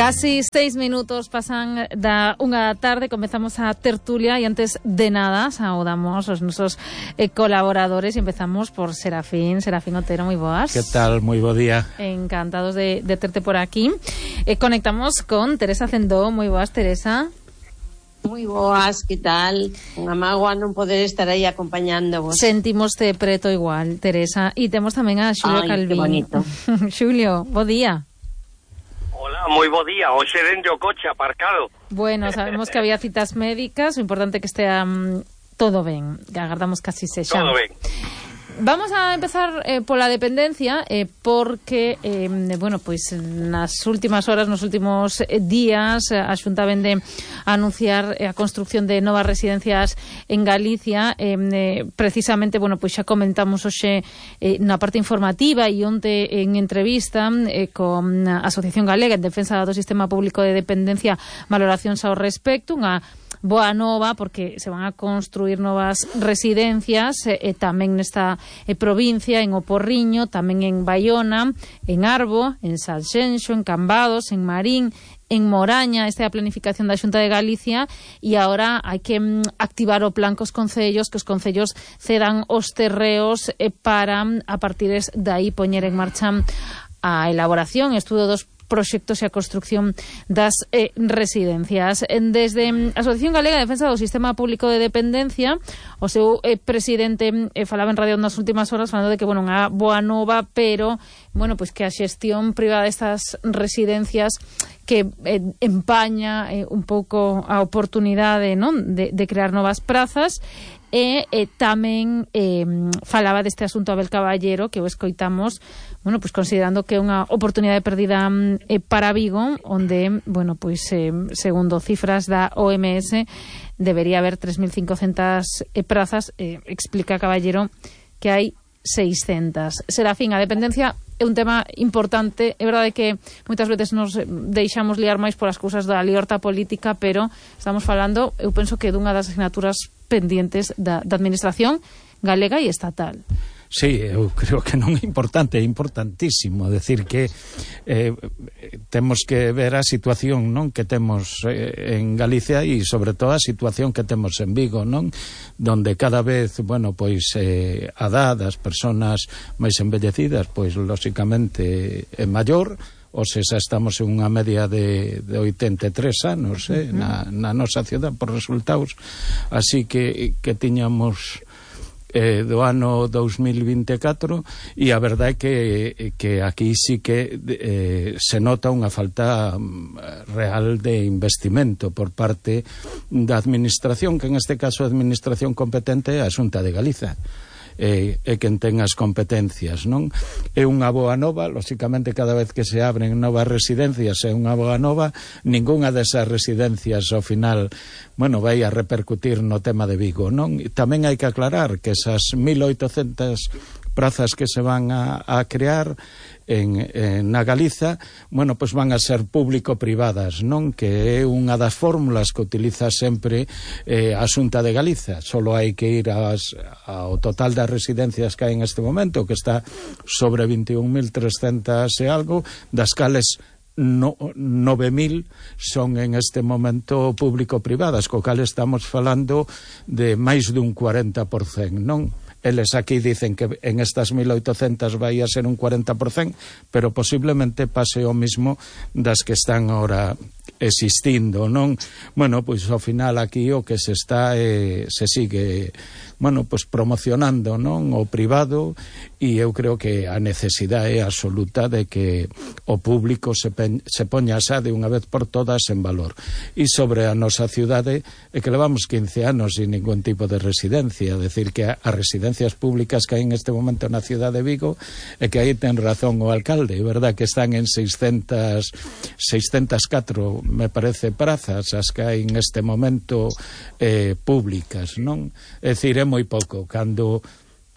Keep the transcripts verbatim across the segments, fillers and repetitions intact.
Casi seis minutos pasan da unha tarde, comezamos a tertulia e antes de nada saudamos os nosos eh, colaboradores e empezamos por Serafín. Serafín Otero, moi boas. Que tal? Moi bo día. Encantados de, de terte por aquí. Eh, conectamos con Teresa Cendó. Moi boas, Teresa. Moi boas, que tal? Unha mágoa non poder estar aí acompañándovos. Sentimos de preto igual, Teresa. E temos tamén a Xulio Ai, Calvín. que bonito. Xulio, bo día. Hola, moi bo día. Hoxe dentro o coche aparcado. Bueno, sabemos que había citas médicas, o importante é que estea um, todo ben. Que agardamos casi sexa. Todo ben. Vamos a empezar eh, pola dependencia eh, porque, eh, bueno, pois nas últimas horas, nos últimos eh, días a Xunta vende a anunciar eh, a construcción de novas residencias en Galicia. eh, eh, precisamente, bueno, pois xa comentamos hoxe eh, na parte informativa e onte en entrevista eh, con a Asociación Galega en Defensa do Sistema Público de Dependencia, valoracións ao respecto, unha boa nova porque se van a construir novas residencias e eh, tamén nesta eh, provincia, en O Porriño, tamén en Baiona, en Arbo, en Sanxenxo, en Cambados, en Marín, en Moraña. Esta é a planificación da Xunta de Galicia e agora hai que mm, activar o plan cos concellos, que os concellos cedan os terreos eh, para a partir de aí poñer en marcha a elaboración e estudo dos proxectos e a construcción das eh, residencias. Desde a Asociación Galega de Defensa do Sistema Público de Dependencia, o seu eh, presidente eh, falaba en radio nas últimas horas falando de que, bueno, unha boa nova, pero, bueno, pois que a xestión privada destas residencias que eh, empaña eh, un pouco a oportunidade, non, de, de crear novas prazas. E eh, tamén eh, falaba deste asunto Abel Caballero, que o escoitamos, bueno, pois considerando que é unha oportunidade perdida eh, para Vigo, onde, bueno, pois eh, segundo cifras da O M S debería haber tres mil cincocentas eh, prazas. eh, explica Caballero que hai seiscentas. Serafín, a dependencia é un tema importante. É verdade que moitas veces nos deixamos liar máis polas cousas da libertad política, pero estamos falando, eu penso que dunha das asignaturas pendientes da, da administración galega e estatal. Sí, eu creo que non é importante, é importantísimo decir que eh, temos que ver a situación, non, que temos eh, en Galicia e sobre todo a situación que temos en Vigo, non, donde cada vez, bueno, pois eh, a edad das persoas máis envellecidas, pois lóxicamente é maior. Ou se xa estamos en unha media de, de oitenta e tres anos eh, uh-huh. na, na nosa cidade por resultados, así que, que tiñamos eh, do ano dous mil vinte e catro e a verdade é que, que aquí sí que eh, se nota unha falta real de investimento por parte da administración, que en este caso a administración competente é a Xunta de Galiza. E, e quen ten as competencias, non? É unha boa nova, lóxicamente cada vez que se abren novas residencias é unha boa nova. Ningunha desas residencias ao final, bueno, vai a repercutir no tema de Vigo, non? E tamén hai que aclarar que esas mil oitocentas prazas que se van a, a crear en, en na Galiza, bueno, pois van a ser público-privadas, non? Que é unha das fórmulas que utiliza sempre eh, a Xunta de Galiza. Solo hai que ir as, ao total das residencias que hai en este momento, que está sobre veintiún mil trescentas e algo, das cales no, nove mil son en este momento público-privadas, co cal estamos falando de máis dun cuarenta por cento, non? Eles aquí dicen que en estas mil oitocentas vai a ser un cuarenta por cento, pero posiblemente pase o mismo das que están ahora existindo, non? Bueno, pois ao final aquí o que se está eh, se sigue, bueno, pois promocionando, non, o privado, e eu creo que a necesidade é absoluta de que o público se, pen, se poña xa de unha vez por todas en valor. E sobre a nosa cidade é que levamos quince anos sin ningún tipo de residencia, decir que as residencias públicas que hai en este momento na cidade de Vigo é que aí ten razón o alcalde, é verdad que están en seiscentas, seiscentas e catro, me parece, prazas as que hai en este momento eh, públicas, non? É dicir, é moi pouco, cando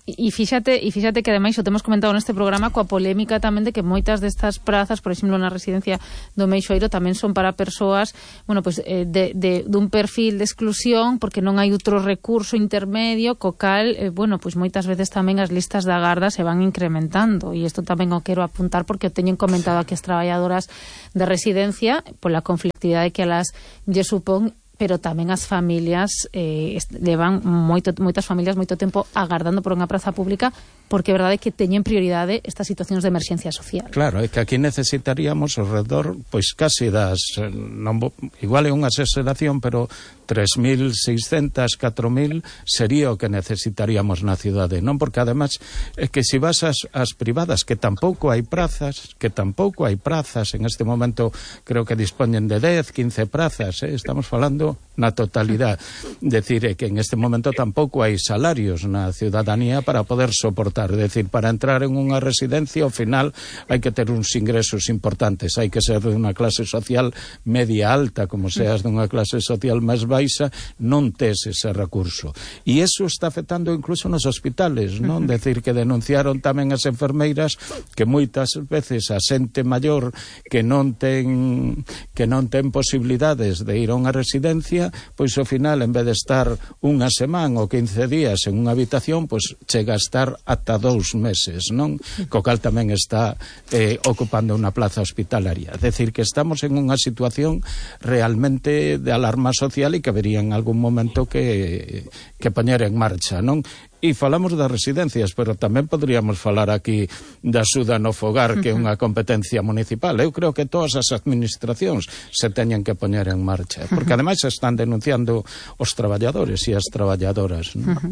E fíxate, e fíxate que ademais o temos comentado neste programa coa polémica tamén de que moitas destas prazas, por exemplo, na residencia do Meixoeiro tamén son para persoas, bueno, pues eh, de, de dun perfil de exclusión porque non hai outro recurso intermedio co cal, eh, bueno, pues moitas veces tamén as listas de agarda se van incrementando e isto tamén o quero apuntar porque o teñen comentado aquí as traballadoras de residencia pola conflictividade que elas lle supón, pero tamén as familias eh, levan moito, moitas familias moito tempo agardando por unha praza pública porque é verdade que teñen prioridade estas situacións de emerxencia social. Claro, é que aquí necesitaríamos ao redor, pois casi das, non, igual é unha exageración, pero tres mil seiscentas, catro mil sería o que necesitaríamos na cidade, non? Porque ademais é que se vas ás, ás privadas, que tampouco hai prazas, que tampouco hai prazas, en este momento creo que dispoñen de dez, quince prazas, eh? Estamos falando na totalidade. Decir, é que en este momento tampouco hai salarios na ciudadanía para poder soportar. É dicir, para entrar en unha residencia, ao final, hai que ter uns ingresos importantes. Hai que ser de unha clase social media alta, como seas de unha clase social máis baixa, non tes ese recurso. E iso está afectando incluso nos hospitales, non? Decir, que denunciaron tamén as enfermeiras que moitas veces a xente maior que non ten que non ten posibilidades de ir a unha residencia, pois ao final, en vez de estar unha semana ou quince días en unha habitación, pois chega a estar ata dous meses, non? Co cal tamén está eh, ocupando unha plaza hospitalaria. É dicir, que estamos en unha situación realmente de alarma social e que habería en algún momento que, que poñer en marcha, non? E falamos das residencias, pero tamén podríamos falar aquí da axuda no fogar, que é unha competencia municipal. Eu creo que todas as administracións se teñen que poñer en marcha, porque ademais se están denunciando os traballadores e as traballadoras, non? Uh-huh.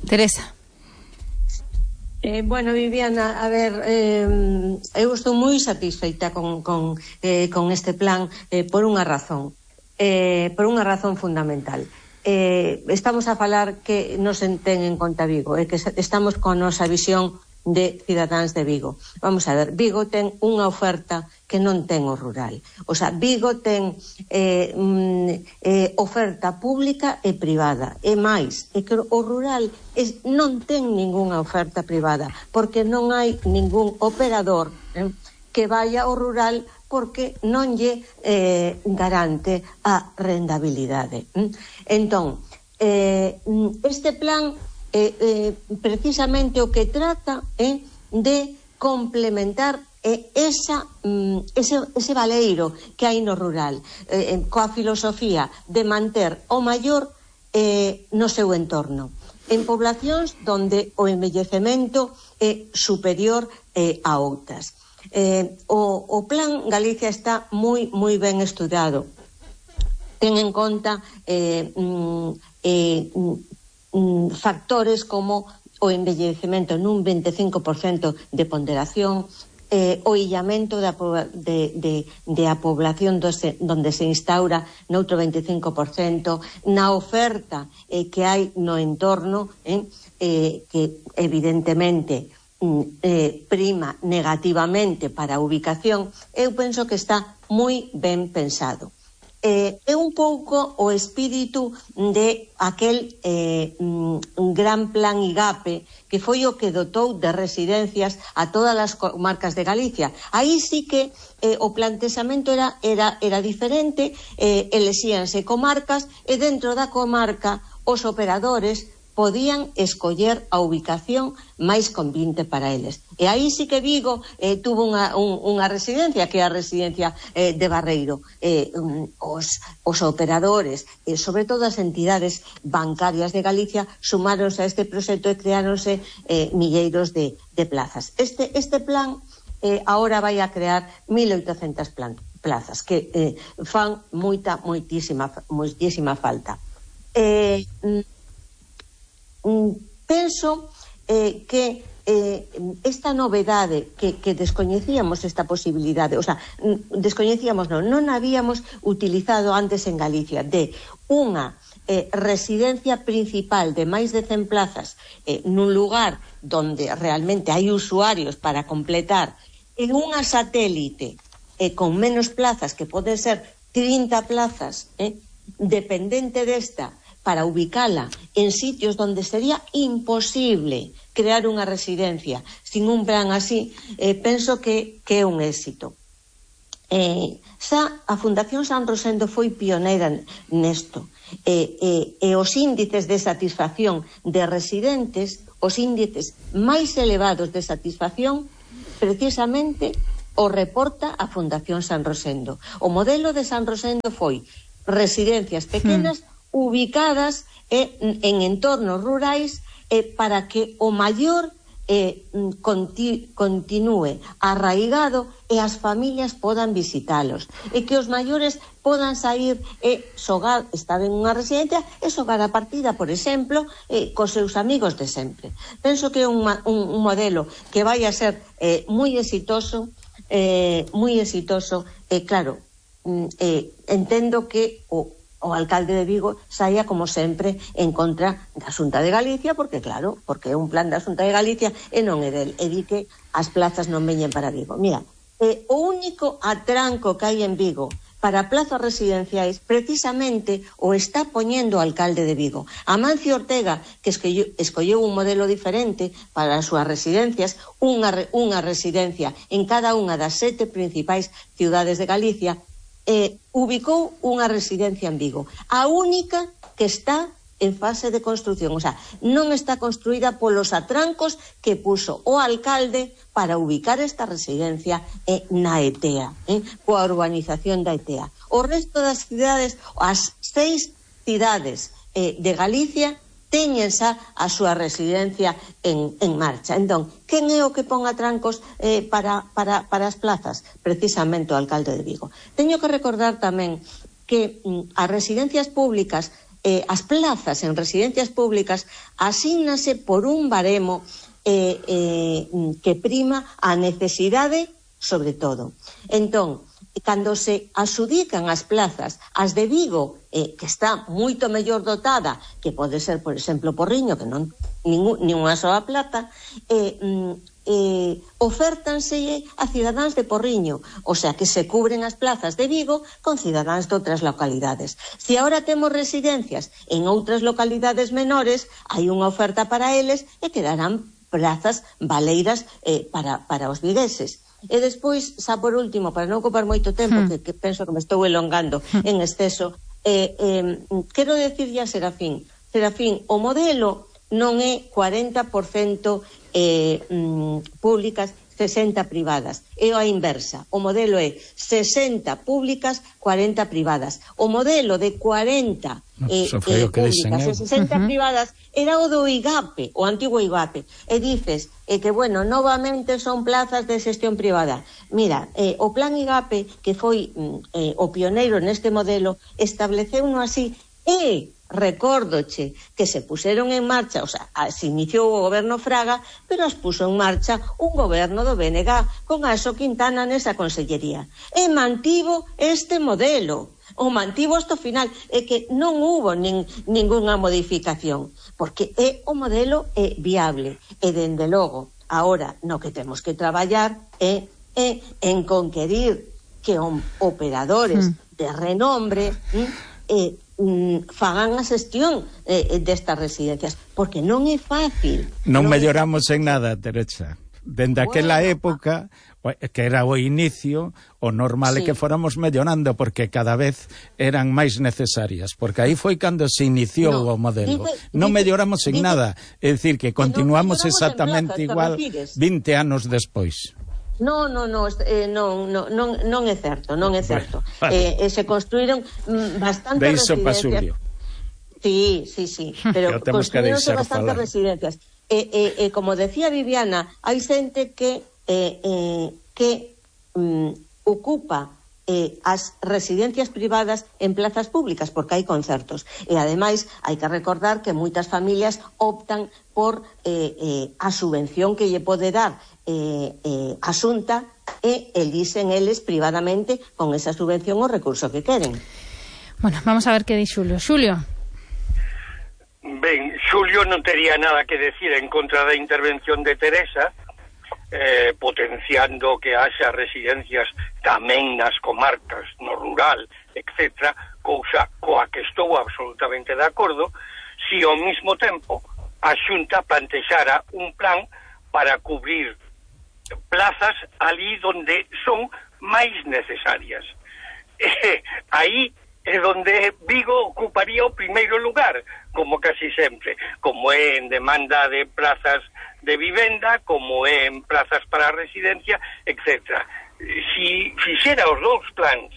Teresa. Eh, bueno, Viviana, a ver, eh, eu estou moi satisfeita con, con, eh, con este plan eh, por unha razón, eh, por unha razón fundamental. Eh, estamos a falar que nos ten en conta Vigo, e eh, que estamos con a nosa visión de cidadáns de Vigo. Vamos a ver, Vigo ten unha oferta que non ten o rural. O sea, Vigo ten eh, mm, eh, oferta pública e privada. E máis, é que o rural es, non ten ningunha oferta privada, porque non hai ningún operador eh, que vaya ao rural porque non lle eh, garante a rendabilidade. Entón, eh, este plan Eh, eh, precisamente o que trata é eh, de complementar eh, esa, mm, ese, ese valeiro que hai no rural, eh, coa filosofía de manter o maior eh, no seu entorno, en poblacións donde o envellecemento é superior eh, a outras. Eh, o, o plan Galicia está moi, moi ben estudado. Ten en conta eh, mm, eh, factores como o envellecemento nun veinticinco por cento de ponderación, eh, o illamento da, de, de, de a población dose, donde se instaura noutro veinticinco por cento, na oferta eh, que hai no entorno, eh, eh, que evidentemente eh, prima negativamente para a ubicación. Eu penso que está moi ben pensado. Eh, é un pouco o espírito de aquel eh, un gran plan IGAPE que foi o que dotou de residencias a todas as comarcas de Galicia. Aí sí que eh, o plantexamento era, era, era diferente, eh, elexíanse comarcas e dentro da comarca os operadores podían escoller a ubicación máis convinte para eles. E aí sí que Vigo eh, tuvo unha, un, unha residencia, que é a residencia eh, de Barreiro. Eh, um, os, os operadores, eh, sobre todo as entidades bancarias de Galicia, sumáronse a este proxecto e creáronse eh, milleiros de, de plazas. Este, este plan eh, ahora vai a crear mil oitocentas plazas, que eh, fan moita, moitísima, moitísima falta. Eh, penso eh, que eh, esta novedade que, que descoñecíamos esta posibilidade, o sea, descoñecíamos non, non habíamos utilizado antes en Galicia de unha eh, residencia principal de máis de cen plazas eh, nun lugar donde realmente hai usuarios para completar, en unha satélite eh, con menos plazas, que poden ser trinta plazas, eh, dependente desta, para ubicala en sitios donde sería imposible crear unha residencia sin un plan así, eh, penso que, que é un éxito. Eh, xa a Fundación San Rosendo foi pioneira nesto, e, e, e os índices de satisfacción de residentes, os índices máis elevados de satisfacción, precisamente o reporta a Fundación San Rosendo. O modelo de San Rosendo foi residencias pequenas hmm. ubicadas eh, en entornos rurais eh, para que o maior eh, conti, continúe arraigado e as familias podan visitalos, e que os maiores podan sair e xogar, estar en unha residencia e xogar a partida, por exemplo, eh, cos seus amigos de sempre. Penso que é un, un, un modelo que vai a ser eh, moi exitoso, eh, moi exitoso, e eh, claro, eh, entendo que o o alcalde de Vigo saía, como sempre, en contra da Xunta de Galicia, porque, claro, porque é un plan da Xunta de Galicia e non é del, e di que as plazas non veñen para Vigo. Mira, eh, o único atranco que hai en Vigo para plazas residenciais, precisamente o está poñendo o alcalde de Vigo. Amancio Ortega, que escolleu, escolleu un modelo diferente para as súas residencias, unha, unha residencia en cada unha das sete principais ciudades de Galicia, Eh, ubicou unha residencia en Vigo, a única que está en fase de construción, o sea, non está construída polos atrancos que puso o alcalde para ubicar esta residencia eh, na E T E A, eh, coa urbanización da E T E A. O resto das cidades, as seis cidades eh, de Galicia, teñen xa a súa residencia en, en marcha. Entón, quen é o que pon atrancos eh, para, para, para as plazas? Precisamente o alcalde de Vigo. Teño que recordar tamén que mm, as residencias públicas, eh, as plazas en residencias públicas, asígnase por un baremo eh, eh, que prima a necesidade sobre todo. Entón, cando se asudican as plazas, as de Vigo, eh, que está moito mellor dotada, que pode ser, por exemplo, Porriño, que non ningún, ninguna soa plaza, eh, eh, ofértanse a cidadáns de Porriño, o sea, que se cubren as plazas de Vigo con cidadáns de outras localidades. Se agora temos residencias en outras localidades menores, hai unha oferta para eles e quedarán plazas valeiras eh, para, para os vigueses. E despois, xa por último, para non ocupar moito tempo, hmm. que, que penso que me estou elongando hmm. en exceso, eh, eh, quero decirlle a Serafín, Serafín, o modelo non é cuarenta por cento eh, mm, públicas, sesenta privadas, é a inversa. O modelo é sesenta públicas, cuarenta privadas. O modelo de cuarenta eh, eh, públicas e sesenta uh-huh. privadas era o do I G A P E, o antigo I G A P E. E dices eh, que, bueno, novamente son plazas de xestión privada. Mira, eh, o plan I G A P E, que foi eh, o pioneiro neste modelo, estableceu uno así e recórdoche que se puseron en marcha, o sea, se iniciou o goberno Fraga, pero as puso en marcha un goberno do B N G con Aso Quintana nesa consellería. E mantivo este modelo, o mantivo hasta o final, é que non hubo nin, ninguna modificación, porque é o modelo é viable, e dende logo, agora, no que temos que traballar é, é en conquerir que operadores mm. de renombre eh, fagan a xestión eh, destas residencias, porque non é fácil. Non, non melloramos en nada, Teresa. Dende bueno, aquela época, que era o inicio, o normal sí. é que fóramos mellorando, porque cada vez eran máis necesarias, porque aí foi cando se iniciou no, o modelo. Dice, non dice, melloramos en dice, nada, é dicir, que continuamos no exactamente igual vinte anos despois. No, no, no, eh, non, non, non, non é certo, non é certo. Bueno, vale. eh, eh, se construíron mm, bastantes residencias. Sí, sí, sí, pero construíronse bastantes falar. residencias. E, eh, eh, como decía Viviana, hai xente que eh, eh, que mm, ocupa eh, as residencias privadas en plazas públicas, porque hai concertos. E, ademais, hai que recordar que moitas familias optan por eh, eh, a subvención que lle pode dar eh, eh, a Xunta e elixen eles privadamente con esa subvención o recurso que queren. Bueno, vamos a ver que di Xulio. Xulio. Ben, Xulio non tería nada que decir en contra da intervención de Teresa, eh, potenciando que haxa residencias tamén nas comarcas, no rural, etcétera, cousa coa que estou absolutamente de acordo, si ao mesmo tempo a Xunta plantexara un plan para cubrir plazas ali donde son máis necesarias. E aí é donde Vigo ocuparía o primeiro lugar, como casi sempre, como é en demanda de plazas de vivenda, como é en plazas para residencia, etcétera. Si fixera os dous plans,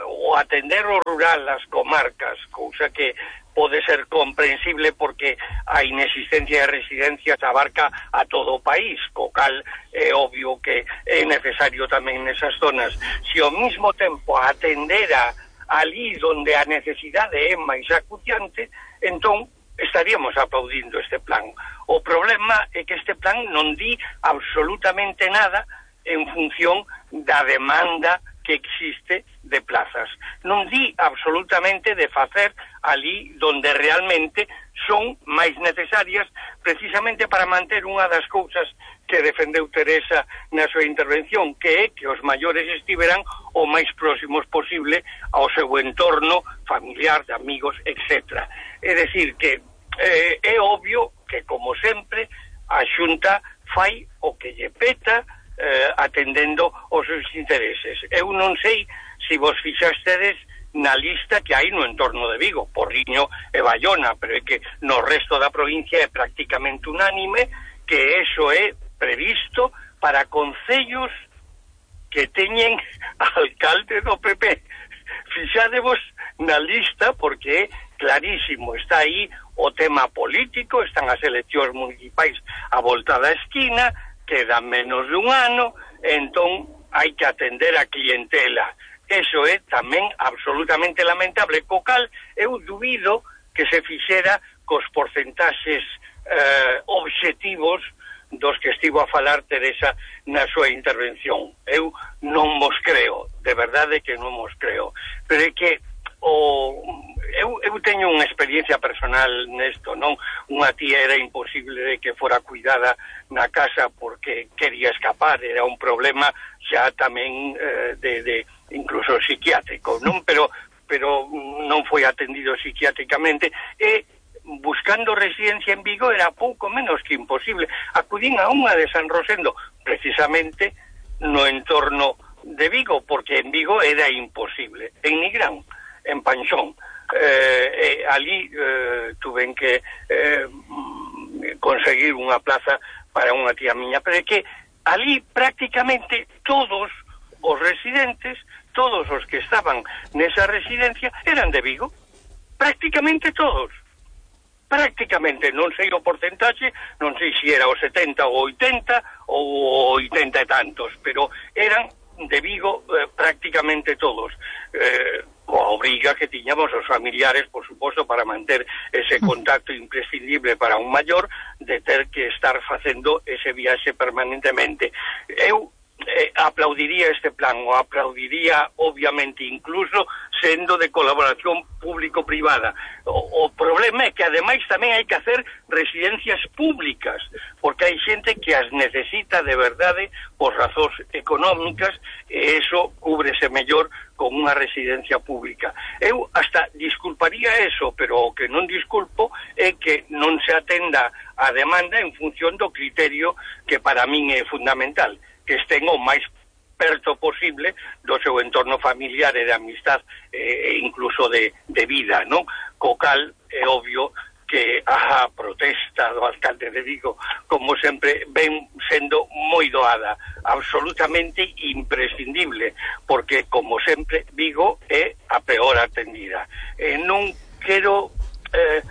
o atender o rural, as comarcas, cousa que pode ser comprensible porque a inexistencia de residencias abarca a todo o país, co cal é obvio que é necesario tamén nesas zonas. Si ao mesmo tempo atendera ali onde a necesidade é máis acuciante, entón estaríamos aplaudindo este plan. O problema é que este plan non di absolutamente nada en función da demanda que existe de plazas. Non di absolutamente de facer ali donde realmente son máis necesarias, precisamente para manter unha das cousas que defendeu Teresa na súa intervención, que é que os maiores estiveran o máis próximos posible ao seu entorno familiar, de amigos, etcétera. É dicir, que eh, é obvio que, como sempre, a Xunta fai o que lle peta, eh, atendendo os seus intereses. Eu non sei se vos fixastedes na lista que hai no entorno de Vigo, Porriño e Bayona, pero é que no resto da provincia é prácticamente unánime que eso é previsto para concellos que teñen alcalde do P P. Fixadevos na lista porque é clarísimo, está aí o tema político, están as eleccións municipais a volta da esquina, quedan menos de un ano, entón hai que atender a clientela. Eso é tamén absolutamente lamentable, co cal eu dubido que se fixera cos porcentaxes eh, obxectivos dos que estivo a falar Teresa na súa intervención. Eu non mos creo, de verdade que non mos creo. Pero é que o, eu, eu teño unha experiencia personal nesto, non? Unha tía era imposible de que fora cuidada na casa porque quería escapar, era un problema xa tamén eh, de, de incluso psiquiátrico, non? Pero, pero non foi atendido psiquiátricamente e buscando residencia en Vigo era pouco menos que imposible. Acudín a unha de San Rosendo, precisamente no entorno de Vigo, porque en Vigo era imposible. En Nigrán, en Panxón, eh, eh, ali eh, tuven que eh, conseguir unha plaza para unha tía miña, pero é que ali prácticamente todos os residentes, todos os que estaban nesa residencia eran de Vigo, prácticamente todos. Prácticamente, non sei o porcentaxe, non sei se era o setenta ou oitenta ou oitenta e tantos, pero eran de Vigo eh, prácticamente todos. Eh, coa obriga que tiñamos os familiares, por suposto, para manter ese contacto imprescindible para un maior, de ter que estar facendo ese viaxe permanentemente. Eu eh, aplaudiría este plan, o aplaudiría obviamente incluso sendo de colaboración público-privada. O, o problema é que ademais tamén hai que hacer residencias públicas, porque hai xente que as necesita de verdade por razóns económicas e eso cúbrese mellor con unha residencia pública. Eu hasta disculparía eso, pero o que non disculpo é que non se atenda a demanda en función do criterio que para min é fundamental, que estén o máis perto posible do seu entorno familiar e de amistad e incluso de, de vida, non? Co cal é obvio que a protesta do alcalde de Vigo, como sempre, ven sendo moi doada, absolutamente imprescindible, porque, como sempre, Vigo é a peor atendida. E non quero eh,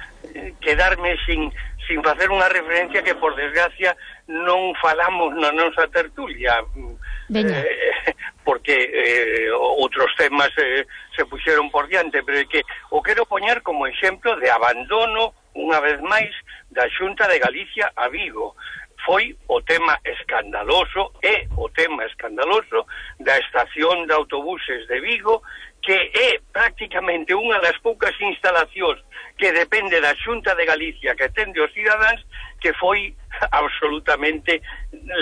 quedarme sin, sin facer unha referencia que, por desgracia, non falamos na nosa tertulia, eh, porque eh, outros temas eh, se puxeron por diante, pero é que o quero poñer como exemplo de abandono, unha vez máis, da Xunta de Galicia a Vigo. Foi o tema escandaloso, é o tema escandaloso da estación de autobuses de Vigo, que é prácticamente unha das poucas instalacións que depende da Xunta de Galicia que atende os cidadáns, que foi absolutamente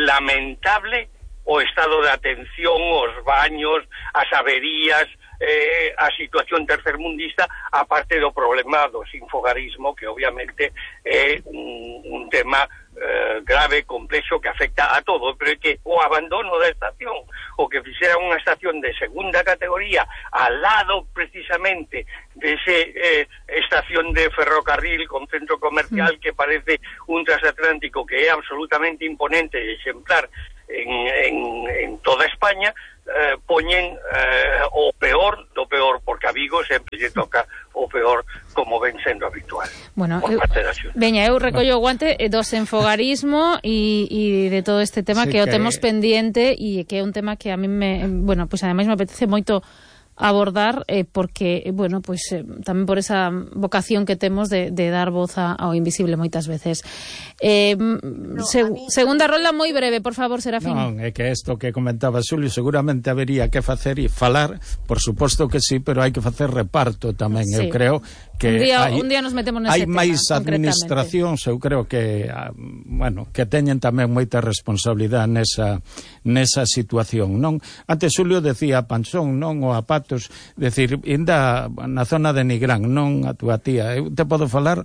lamentable o estado de atención, os baños, as averías, eh, a situación tercermundista, aparte do problema do sinfogarismo, que obviamente é un, un tema eh, grave, complexo, que afecta a todo, pero é que o abandono da estación, o que fixera unha estación de segunda categoría al lado precisamente de ese eh, estación de ferrocarril con centro comercial que parece un transatlántico que é absolutamente imponente e exemplar en, en, en toda España, eh, poñen eh, o peor do peor, porque a Vigo sempre lle toca o peor, como ven sendo habitual. Bueno, eu, veña, eu recollo o guante do senfogarismo e, e de todo este tema sí, que, que o temos pendiente e que é un tema que a mí me, bueno, pues ademais me apetece moito abordar eh, porque, bueno, pues eh, tamén por esa vocación que temos de, de dar voz a, ao invisible moitas veces. Eh, no, seg mí, segunda rolda moi breve, por favor, Serafín. Non, é que isto que comentaba Xulio, seguramente habería que facer e falar, por suposto que sí, pero hai que facer reparto tamén, sí. Eu creo que un día, hai, un día nos metemos nese hai tema, máis administracións, eu creo que bueno, que teñen tamén moita responsabilidade nesa, nesa situación, non? Antes Xulio decía Panxón, non? O a Patos, decir, inda na zona de Nigrán, non a túa tía, eu te podo falar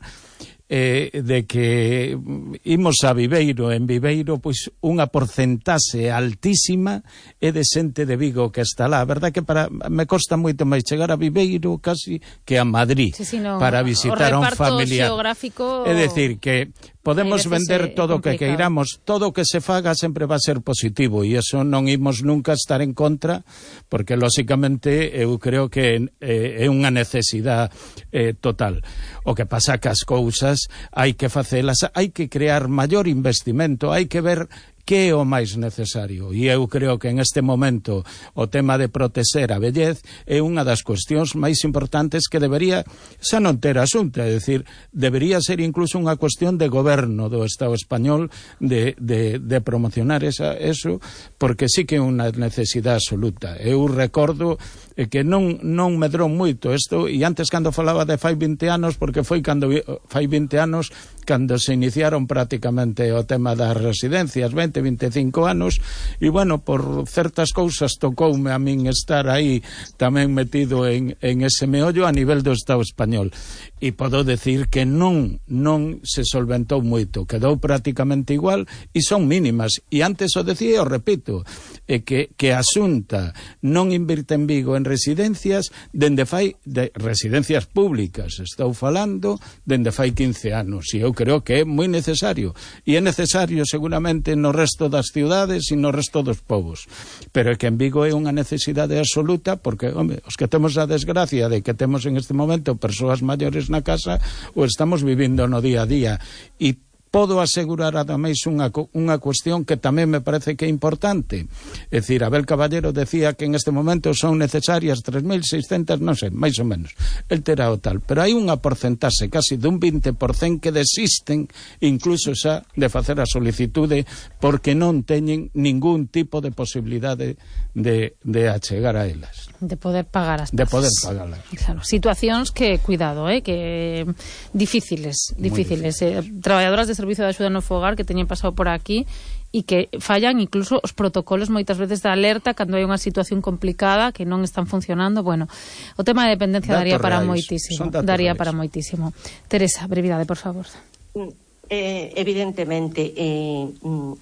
eh, de que imos a Viveiro, en Viveiro pois unha porcentaxe altísima é de xente de Vigo que está lá. A verdade que para me costa moito máis chegar a Viveiro casi que a Madrid, sí, sí, no, para visitar a un familiar. Geográfico... É decir, que podemos vender todo o que queiramos, todo o que se faga sempre va a ser positivo e eso non imos nunca estar en contra, porque lóxicamente eu creo que eh, é unha necesidade eh, total. O que pasa que as cousas hai que facelas, hai que crear maior investimento, hai que ver que é o máis necesario. E eu creo que en este momento o tema de protexer a vellez é unha das cuestións máis importantes que debería xa non ter asunto, é dicir, debería ser incluso unha cuestión de goberno do Estado español de, de, de promocionar esa, eso, porque sí que é unha necesidade absoluta. Eu recordo que non, non medrou moito isto, e antes cando falaba de fai vinte anos, porque foi cando fai vinte anos cando se iniciaron prácticamente o tema das residencias, vinte, vinte e cinco anos, e bueno, por certas cousas tocoume a min estar aí tamén metido en, en ese meollo a nivel do Estado español, e podo decir que non non se solventou moito, quedou prácticamente igual e son mínimas, e antes o decía e o repito, é que, que a Xunta non invirte en Vigo en residencias dende fai, de residencias públicas estou falando, dende fai quince anos, e eu creo que é moi necesario, e é necesario seguramente no resto das ciudades e no resto dos povos, pero é que en Vigo é unha necesidade absoluta, porque, home, os que temos a desgracia de que temos en este momento persoas maiores na casa, o estamos vivindo no día a día, e podo asegurar ademais unha, unha cuestión que tamén me parece que é importante. É dicir, Abel Caballero decía que en este momento son necesarias tres mil seiscentas, non sei, máis ou menos. El terá o tal. Pero hai unha porcentaxe casi dun vinte por cento que desisten incluso xa de facer a solicitude porque non teñen ningún tipo de posibilidade de, de achegar a elas. De poder pagar as De poder pagalas. Claro, situacións que, cuidado, eh, que difíciles, difíciles. Eh, traballadoras de servicio de axuda no fogar que teñen pasado por aquí e que fallan incluso os protocolos moitas veces de alerta cando hai unha situación complicada que non están funcionando. Bueno, o tema de dependencia daría para moitísimo, daría para moitísimo. Teresa, brevidade, por favor. Eh, evidentemente eh,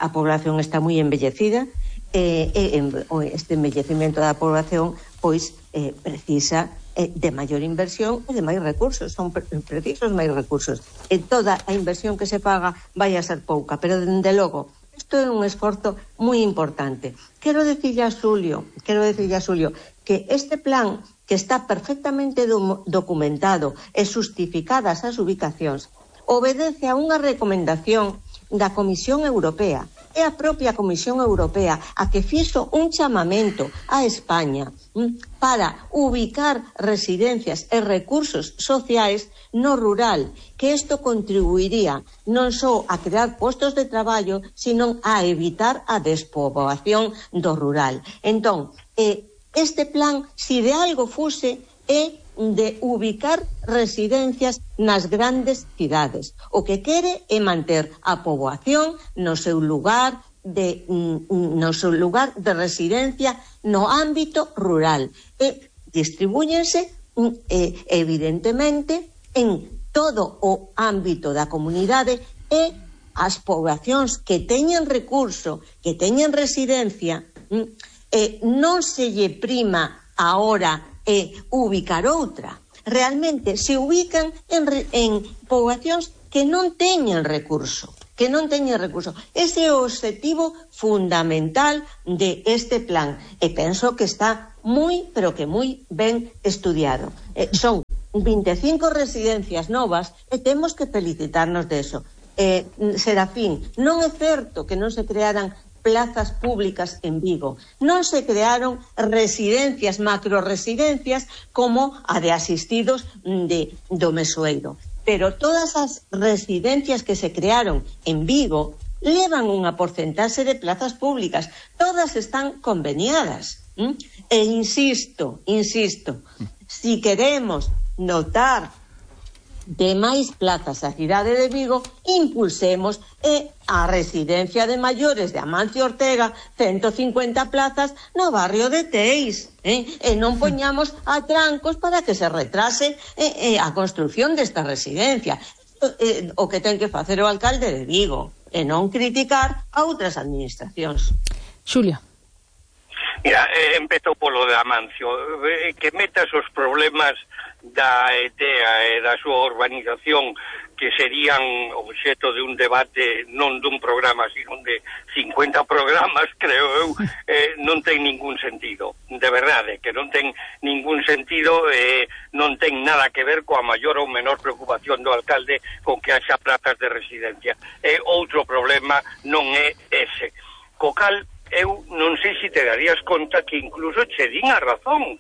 a población está moi envellecida, eh, eh, este envellecemento da población pois eh, precisa eh, de maior inversión e de máis recursos, son pre precisos máis recursos, e toda a inversión que se paga vai a ser pouca, pero dende logo isto é un esforzo moi importante. Quero dicirlle a Xulio, quero dicirlle a Xulio que este plan, que está perfectamente do documentado e justificadas as ubicacións, obedece a unha recomendación da Comisión Europea. É a propia Comisión Europea a que fixo un chamamento a España para ubicar residencias e recursos sociais no rural, que isto contribuiría non só a crear postos de traballo, sino a evitar a despoboación do rural. Entón, eh, este plan, si de algo fose, é de ubicar residencias nas grandes cidades. O que quere é manter a poboación no seu lugar de no seu lugar de residencia no ámbito rural. E distribúyense eh, evidentemente en todo o ámbito da comunidade e as poboacións que teñen recurso, que teñen residencia, eh, non se lle prima ahora eh, ubicar outra. Realmente se ubican en, en poboacións que non teñen recurso, que non teñen recurso. Ese é o obxectivo fundamental de este plan e penso que está moi, pero que moi ben estudiado. Eh, son vinte e cinco residencias novas e temos que felicitarnos de eso. Eh, Serafín, non é certo que non se crearan plazas públicas en Vigo. Non se crearon residencias, macroresidencias, como a de asistidos de, do Mesoeiro. Pero todas as residencias que se crearon en Vigo levan unha porcentaxe de plazas públicas. Todas están conveniadas. ¿Mm? E insisto, insisto, si queremos notar de máis plazas a cidade de Vigo, impulsemos e a residencia de maiores de Amancio Ortega, ciento cincuenta plazas no barrio de Teis, eh? e non poñamos a trancos para que se retrase eh, eh, a construción desta residencia. Eh, o que ten que facer o alcalde de Vigo, e non criticar a outras administracións. Xulia. Mira, eh, empezou polo de Amancio, eh, que metas os problemas da E T E A e da súa urbanización, que serían obxeto de un debate non dun programa, sino de cincuenta programas, creo eu, eh, non ten ningún sentido, de verdade, que non ten ningún sentido, eh, non ten nada que ver coa maior ou menor preocupación do alcalde con que haxa plazas de residencia. E outro problema non é ese. Co cal, eu non sei se te darías conta que incluso che din a razón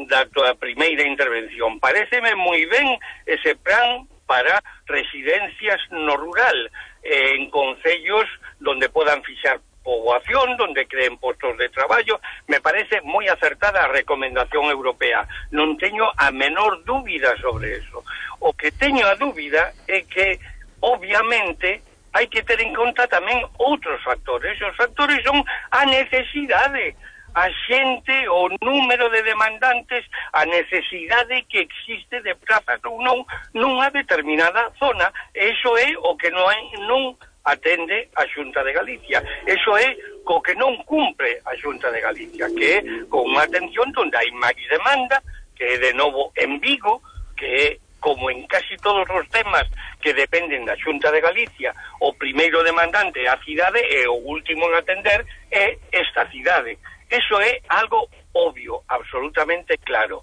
da tua primeira intervención. Paréceme moi ben ese plan para residencias no rural, eh, en concellos donde podan fixar poboación, donde creen postos de traballo. Me parece moi acertada a recomendación europea. Non teño a menor dúbida sobre eso. O que teño a dúbida é que, obviamente, hai que ter en conta tamén outros factores. Os factores son a necesidade, a xente, o número de demandantes, a necesidade que existe de plazas ou non nunha determinada zona. Eso é o que non, non atende a Xunta de Galicia. Eso é co que non cumpre a Xunta de Galicia, que é con unha atención onde hai máis demanda, que é de novo en Vigo, que é como en casi todos os temas que dependen da Xunta de Galicia, o primeiro demandante é a cidade e o último en atender é esta cidade. Eso é algo obvio, absolutamente claro.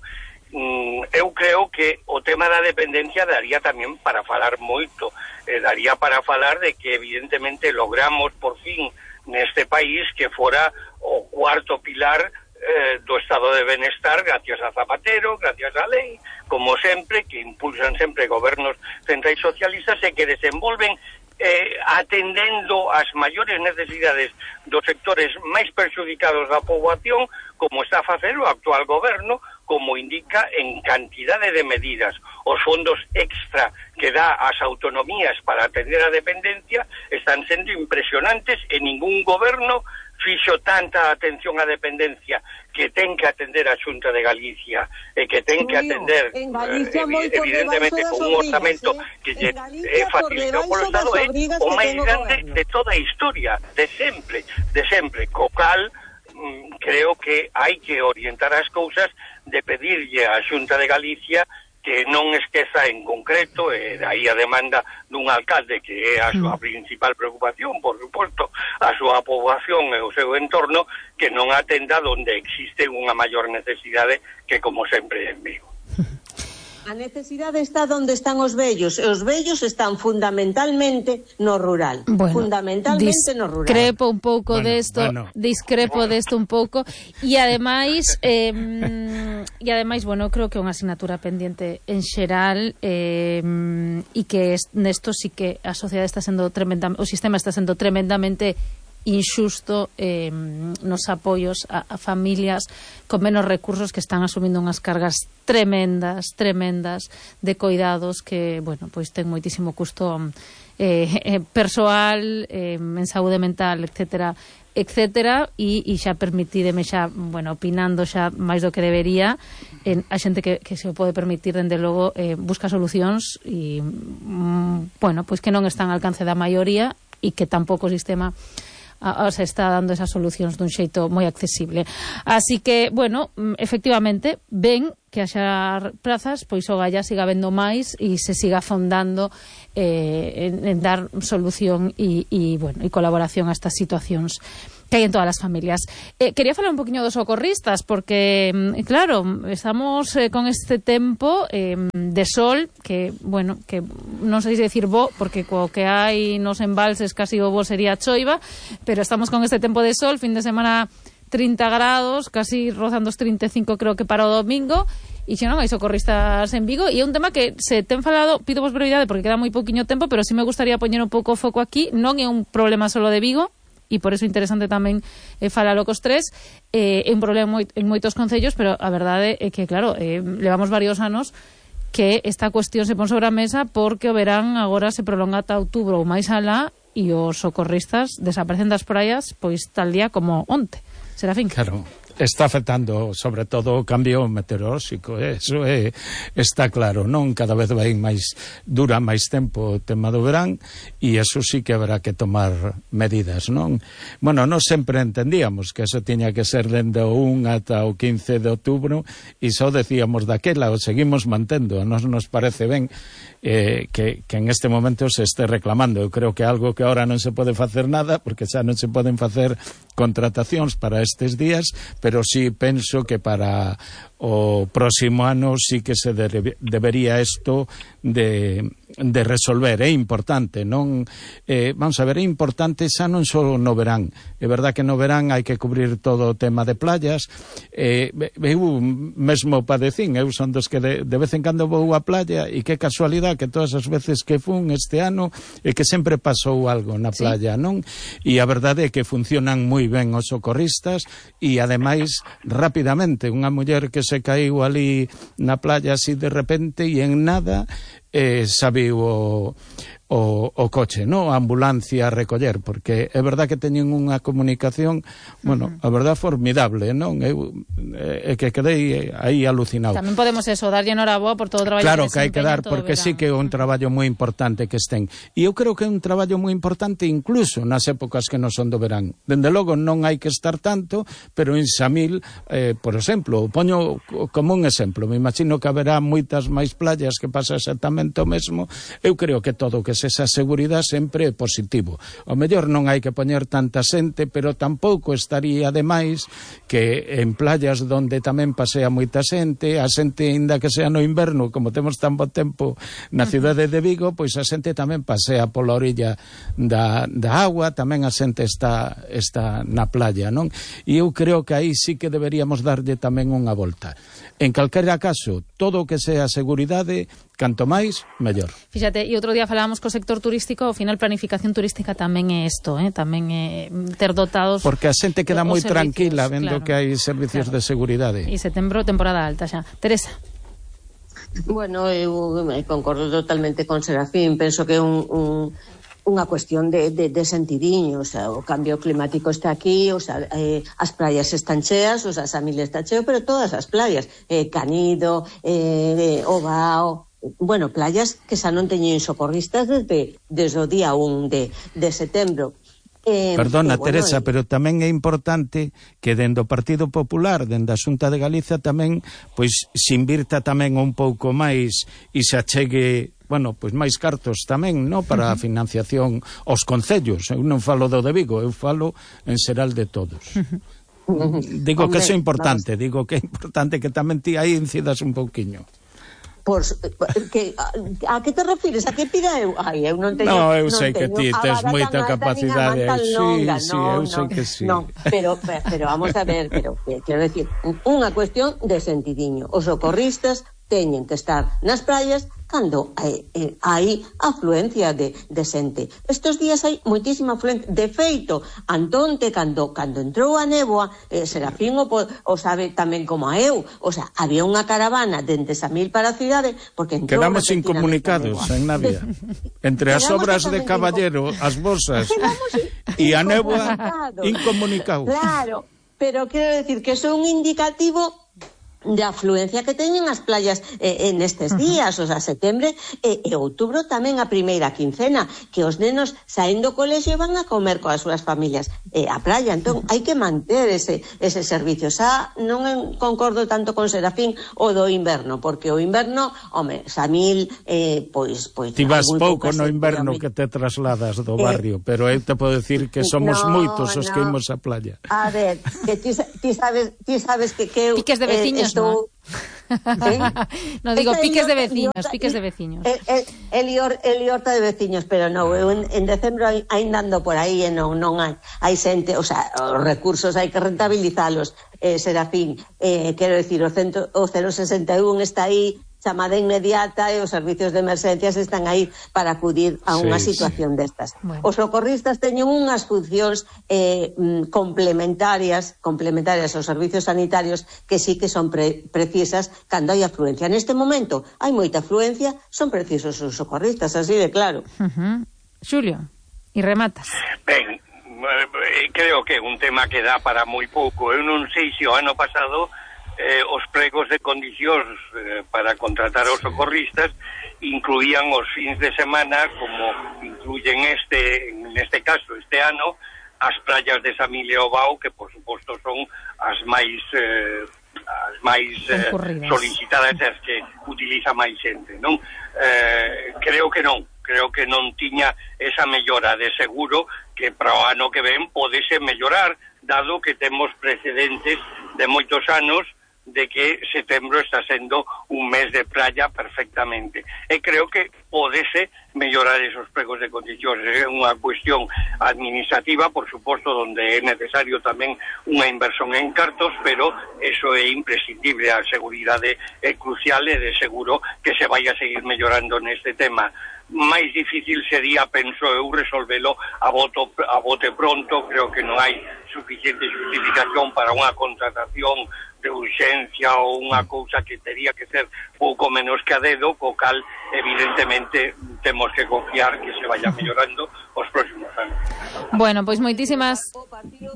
Mm, eu creo que o tema da dependencia daría tamén para falar moito, eh, daría para falar de que evidentemente logramos por fin neste país que fora o cuarto pilar Eh, do estado de benestar gracias a Zapatero, gracias a lei, como sempre, que impulsan sempre gobernos centrais socialistas e que desenvolven eh, atendendo as maiores necesidades dos sectores máis perxudicados da poboación, como está a facer o actual goberno, como indica en cantidade de medidas. Os fondos extra que dá ás autonomías para atender a dependencia están sendo impresionantes e ningún goberno fixo tanta atención á dependencia que ten que atender a Xunta de Galicia e que ten que atender eh, evidentemente con un orzamento eh? que lle é facilitado polo Estado, é o máis grande de toda a historia, de sempre, de sempre, co cal mm, creo que hai que orientar as cousas de pedirlle á Xunta de Galicia que non esqueza en concreto, e eh, aí a demanda dun alcalde que é a súa principal preocupación, por suposto, a súa poboación e o seu entorno, que non atenda onde existe unha maior necesidade que, como sempre, en Vigo. A necesidade está onde están os vellos, e os vellos están fundamentalmente no rural. Bueno, fundamentalmente no rural. Discrepo un pouco bueno, desto, bueno. discrepo desto un pouco, e ademais eh, e ademais, bueno, creo que é unha asignatura pendiente en xeral, eh, e que nesto sí que a sociedade está sendo tremendamente, o sistema está sendo tremendamente inxusto eh, nos apoios a, a familias con menos recursos que están asumindo unhas cargas tremendas, tremendas de coidados que, bueno, pois ten moitísimo custo eh, eh, persoal, eh, en saúde mental, etcétera, etcétera, e, e xa permitídeme xa, bueno, opinando xa máis do que debería, en, a xente que, que se o pode permitir, dende logo, eh, busca solucións e, mm, bueno, pois que non están ao alcance da maioría e que tampouco o sistema a, a, se está dando esas solucións dun xeito moi accesible. Así que, bueno, efectivamente, ven que haxa prazas, pois o Galla siga vendo máis e se siga afondando eh, en, en dar solución e, e, bueno, e colaboración a estas situacións que hai en todas as familias. Eh, quería falar un poquinho dos socorristas, porque, claro, estamos eh, con este tempo eh, de sol, que, bueno, que non sei se decir bo, porque co que hai nos embalses casi o bo sería choiva, pero estamos con este tempo de sol, fin de semana trinta grados, casi rozando os trinta e cinco creo que para o domingo, e xa non hai socorristas en Vigo, e é un tema que se ten falado, pido vos brevidade porque queda moi pouquiño tempo, pero sí me gustaría poñer un pouco o foco aquí. Non é un problema solo de Vigo, e por eso é interesante tamén eh, falalo cos tres, eh, é un problema moi, en moitos concellos, pero a verdade é que, claro, eh, levamos varios anos que esta cuestión se pon sobre a mesa porque o verán agora se prolonga ata outubro ou máis alá, e os socorristas desaparecen das praias pois tal día como onte. Serafín. Claro, está afectando sobre todo o cambio meteorolóxico, eso é, está claro, non? Cada vez vai máis, dura máis tempo o tema do verán, e eso sí que habrá que tomar medidas, non? Bueno, non sempre entendíamos que eso tiña que ser dende o un ata o quince de outubro, e só decíamos daquela, o seguimos mantendo, a nos nos parece ben eh, que, que en este momento se este reclamando. Eu creo que algo que ahora non se pode facer nada, porque xa non se poden facer contratacións para estes días, pero sí penso que para o próximo ano sí que se debe, debería isto de, de resolver. É importante, non? Eh, vamos a ver, é importante xa non só no verán. É verdad que no verán hai que cubrir todo o tema de playas. Eh, eu mesmo padecín, eu son dos que de, de vez en cando vou á playa, e que casualidade que todas as veces que fun este ano é que sempre pasou algo na playa, sí, non? E a verdade é que funcionan moi ben os socorristas, e ademais rapidamente unha muller que se caíu ali na playa así de repente, e en nada eh, sabiu o, o, o coche, no? A ambulancia a recoller, porque é verdad que teñen unha comunicación, bueno, uh-huh, a verdad formidable, non? Eu é eh, que quedei aí alucinado. Tamén podemos eso, darlle enhoraboa por todo o traballo claro, que, que hai que dar, porque sí que é un traballo moi importante que estén. E eu creo que é un traballo moi importante incluso nas épocas que non son do verán. Dende logo non hai que estar tanto, pero en Samil, eh, por exemplo, poño como un exemplo, me imagino que haberá moitas máis playas que pasa exactamente o mesmo. Eu creo que todo o que se esa seguridade sempre é positivo. O mellor non hai que poñer tanta xente, pero tampouco estaría demais que en playas donde tamén pasea moita xente, a xente, ainda que sea no inverno, como temos tan bo tempo na cidade de Vigo, pois a xente tamén pasea pola orilla da, da agua, tamén a xente está, está na playa, non? E eu creo que aí sí que deberíamos darlle tamén unha volta. En calquera caso, todo o que sea seguridade, canto máis, mellor. Fíxate, e outro día falábamos co sector turístico, ao final planificación turística tamén é isto, eh? Tamén é ter dotados... Porque a xente queda moi tranquila vendo claro, que hai servicios claro, de seguridade. E setembro, temporada alta xa. Teresa. Bueno, eu concordo totalmente con Serafín, penso que é un... un... unha cuestión de, de, de sentidiño, o sea, o cambio climático está aquí, o sea, eh, as playas están cheas, o sea, Samil está cheo, pero todas as playas, eh, Canido, eh, Ovao, bueno, playas que xa non teñen socorristas desde, desde o día un de, de setembro. Eh, Perdona, bueno, Teresa, eh, pero tamén é importante que dende o Partido Popular, dende a Xunta de Galicia tamén, pois se invirta tamén un pouco máis e se achegue, bueno, pois máis cartos tamén, no, para a financiación aos concellos. Eu non falo do de Vigo, eu falo en xeral de todos. Digo Hombre, que iso é importante, vamos. digo que é importante que tamén ti aí incidas un pouquiño. Por, que, a, a que te refires? A que pida eu? Ai, eu non teño... No, eu non sei que ti tes moita capacidade. Sí, longa, sí, no, eu sei no, que sí. No, pero, pero vamos a ver, pero quero decir, unha cuestión de sentidiño. Os socorristas teñen que estar nas praias cando hai, eh, hai afluencia de, de xente. Estes días hai moitísima afluencia. De feito, Antonte, cando, cando entrou a néboa, eh, Serafín o, o sabe tamén como a eu, o sea, había unha caravana dende Samil para a cidade, porque entrou... Quedamos incomunicados en Navia. Entre as obras de Caballero, as bolsas e a néboa, incomunicados. Claro, pero quero decir que é un indicativo de afluencia que teñen as playas eh, en estes días, o sea, setembro e, e outubro tamén a primeira quincena, que os nenos saíndo do colexio van a comer coas súas familias eh, a playa, entón hai que manter ese, ese servicio. Xa non concordo tanto con Serafín o do inverno, porque o inverno, home, Samil eh, pois, pois ti vas pouco no inverno que te trasladas do barrio, eh, pero eu te podo decir que somos no, moitos os no. que imos á playa. A ver, que ti, ti sabes, ti sabes que que eu piques de veciños, eh, estou... ¿no? ¿Eh? No digo piques de veciños, piques de veciños. El, el, el, ior, el iorta de veciños, pero no, eu en, en decembro ainda ando por aí e non, non hai, hai xente, o sea, os recursos hai que rentabilizalos, eh, Serafín, eh, quero dicir, o, centro, o cero sesenta e un está aí, chamada inmediata e os servicios de emergencias están aí para acudir a unha sí, situación sí. destas. Bueno. Os socorristas teñen unhas funcións eh, complementarias complementarias aos servicios sanitarios que sí que son pre precisas cando hai afluencia. Neste momento hai moita afluencia, son precisos os socorristas, así de claro. Uh-huh. Xulio, e rematas. Ben, creo que é un tema que dá para moi pouco. Eu non sei se o ano pasado Eh, os pregos de condicións eh, para contratar os socorristas incluían os fins de semana, como incluyen este, en este caso, este ano, as praias de Samil e Ovao, que por suposto son as máis eh, as máis eh, solicitadas, as que utiliza máis xente, non? Eh, creo que non, creo que non tiña esa mellora. De seguro que para o ano que ven podese mellorar, dado que temos precedentes de moitos anos de que setembro está sendo un mes de playa perfectamente. E creo que podese mellorar esos pregos de condicións. É unha cuestión administrativa, por suposto, onde é necesario tamén unha inversión en cartos, pero eso é imprescindible. A seguridade é crucial e de seguro que se vai a seguir mellorando neste tema. Máis difícil sería, penso eu, resolvelo a, voto, a bote pronto. Creo que non hai suficiente justificación para unha contratación de urxencia ou unha cousa que tería que ser pouco menos que a dedo, co cal evidentemente temos que confiar que se vaya mellorando os próximos anos. Bueno, pois moitísimas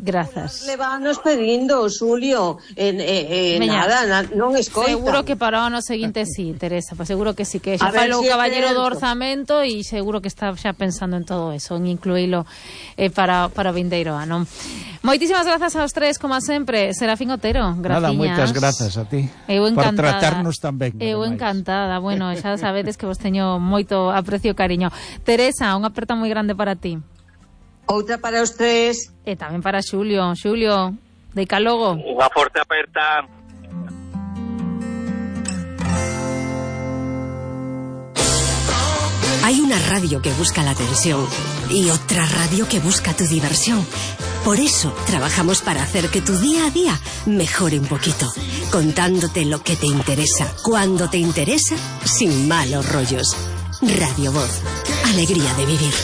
grazas. Levános pedindo, Xulio, en, eh, eh, nada, na, non escoita. Seguro que para o ano seguinte sí, Teresa, pues seguro que sí, que xa falou o caballero do orzamento e seguro que está xa pensando en todo eso, en incluílo eh, para, para o vindeiro ano. Moitísimas grazas aos tres, como sempre. Serafín Otero, graciñas. Nada, moitas grazas a ti. Eu encantada. Por tratarnos tan ben. Eu encantada. Bueno, xa sabedes que vos teño moito aprecio e cariño. Teresa, unha aperta moi grande para ti. Outra para os tres. E tamén para Xulio. Xulio, deica logo. Unha forte aperta. Hay una radio que busca la atención y otra radio que busca tu diversión. Por eso trabajamos para hacer que tu día a día mejore un poquito, contándote lo que te interesa, cuando te interesa, sin malos rollos. Radio Voz, alegría de vivir.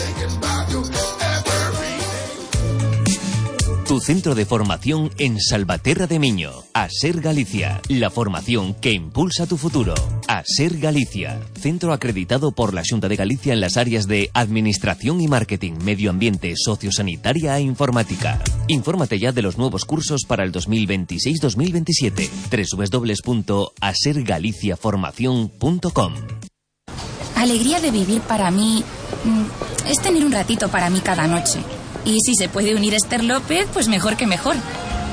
Tu centro de formación en Salvaterra de Miño. ASER Galicia. La formación que impulsa tu futuro. ASER Galicia. Centro acreditado por la Xunta de Galicia en las áreas de Administración y Marketing, Medio Ambiente, Sociosanitaria e Informática. Infórmate ya de los nuevos cursos para el dos mil veintiséis dos mil veintisiete. doble u doble u doble u punto aser galicia formación punto com. Alegría de vivir para mí es tener un ratito para mí cada noche. Y si se puede unir Esther López, pues mejor que mejor.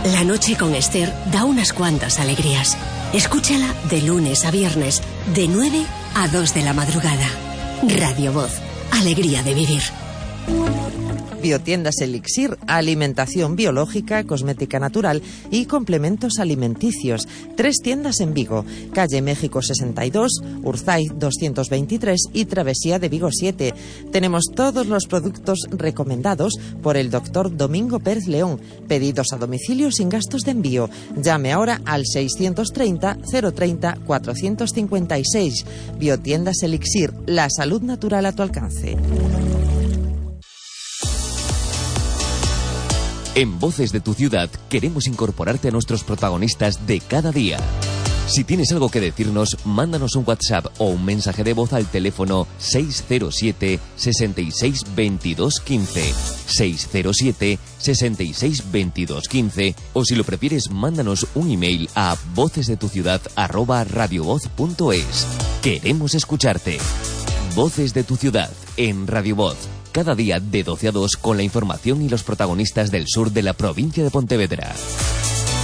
La noche con Esther da unas cuantas alegrías. Escúchala de lunes a viernes, de nueve a dos de la madrugada. Radio Voz, alegría de vivir. Biotiendas Elixir, alimentación biológica, cosmética natural y complementos alimenticios. Tres tiendas en Vigo, calle México sesenta y dos, Urzay doscientos veintitrés y Travesía de Vigo siete. Tenemos todos los productos recomendados por el doctor Domingo Pérez León. Pedidos a domicilio sin gastos de envío. Llame ahora al seiscientos treinta, cero treinta, cuatrocientos cincuenta y seis. Biotiendas Elixir, la salud natural a tu alcance. En Voces de tu Ciudad queremos incorporarte a nuestros protagonistas de cada día. Si tienes algo que decirnos, mándanos un WhatsApp o un mensaje de voz al teléfono seis cero siete, sesenta y seis, veintidós, quince, seis cero siete, sesenta y seis, veintidós, quince, o si lo prefieres, mándanos un email a vocesdetuciudad arroba radiovoz punto es. Queremos escucharte. Voces de tu Ciudad en Radio Voz. Cada día de doce a dos con la información y los protagonistas del sur de la provincia de Pontevedra.